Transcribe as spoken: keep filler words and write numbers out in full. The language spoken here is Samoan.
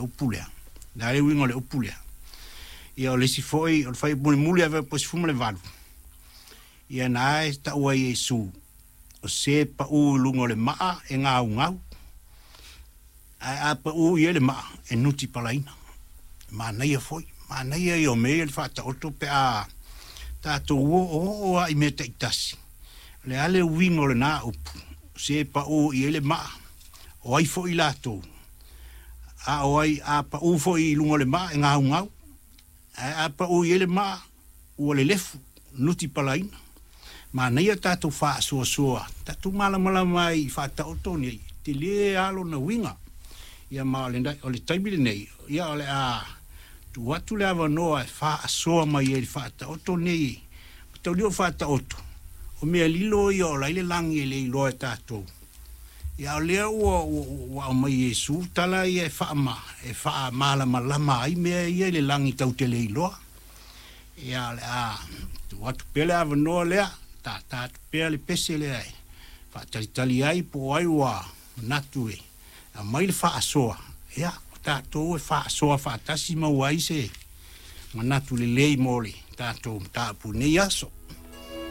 Upu lea. Le a le uiga o le upu lea? Ia o le isi foi, o le fuaiupu mulimuli ave po sefulu ma le valu, ia na e taua ai e Iesu, o se pau i luga o le maa e gaugau, ae a pau i ai le maa e nutipalaina. Manaia foi, manaia ia o mea ia le faataoto pe a tatou oooo lava i mea taitasi. O le a le uiga o lena upu, o se pau i ai le maa, o ai foi latou, a o ai a pau foi i luga o le maa e gaugau, ae a pau i ai le maa ua lelefu, nutipalaina. Manaia tatou faasoasoa, tatou malamalama ai i faataoto nei, tele lava lona uiga. Ia ma o le, o le taimi lenei, ia o le a tuu atu le avanoa e faasoa mai ai i le faataoto nei. Mataulia o faataoto, o mea lilo ia o la i le lagi e le iloa e tatou. Ia o lea ua, ua, ua aumai e Iesu tala ia e faama, e faamalamalama ai mea ia i le lagi tatou te le iloa. Ia o le a tuu atu pea le avanoa lea, tata atu pea le pese lea e faatalitali ai po o ai ua manatu e aumai le faasoa. Ia, o tatou e faasoa faatasi maua ai se manatu lelei mo le tatou mataupu i lenei aso.